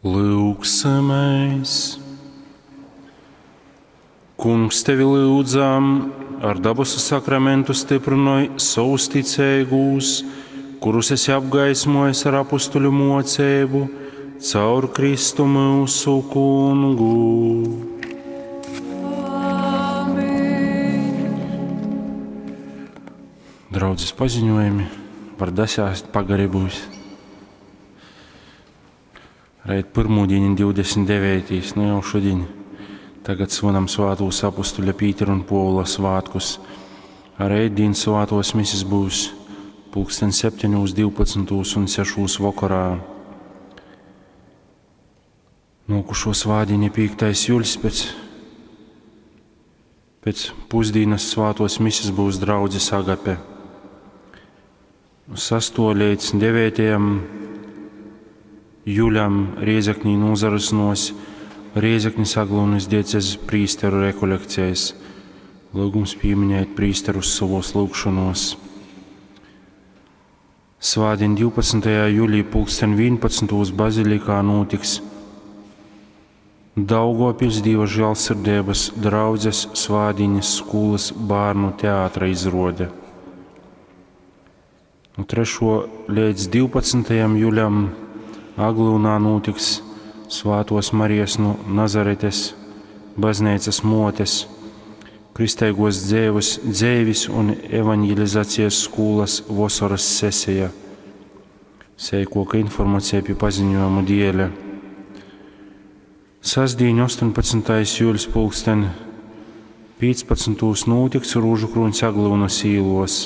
Lyugsimēs! Kungs, tevi lyudzam, ar dabasu sakramentu styprynoj sovus ticeigūs, kurus esi apgaismojis ar apustuļu muoceibu, caur Kristu myusu Kungu. Amen. Draudzes paziņojumi var dasēst pagari būs. Reit pyrmūdiņ 29. Nu jau šodien. Tagad svinam svātūs apustuļa Pītera un Puovula svātkus. A reitdīn svātuos misis būs pulksten 7, 12 un 6 vokorā. Nuokušo svātdieni 5. juļs pēc pusdīnas svātuos misis būs draudzes agape. 6. līdz 9. Juļam Riezeknī nūzarysynuos Riezeknis Aglyunys diecezis prīsteru rekolekcijas. Lyugums pīminēt prīsterus sovuos lyugšonuos. Svātdien 12. julī pulksten 11. bazilikā nūtiks Daugovpiļs Dīva žālsirdeibys draudzes svātdīnis skūlys bārnu teatra izruode. Nu 3. līdz 12. juļam Aglyunā nūtiks Svātuos Marijas nu Nazaretes bazneicys muotes kristeiguos dzeivis, dzeivis un evaņģelizacijas skūlas vosorys seseja. Seikuoka informaceja pi paziņojumu dieļa. Sastdīņ 18. jūļs pulksten 15. nūtiks Rūžukrūņs Aglyunys īluos.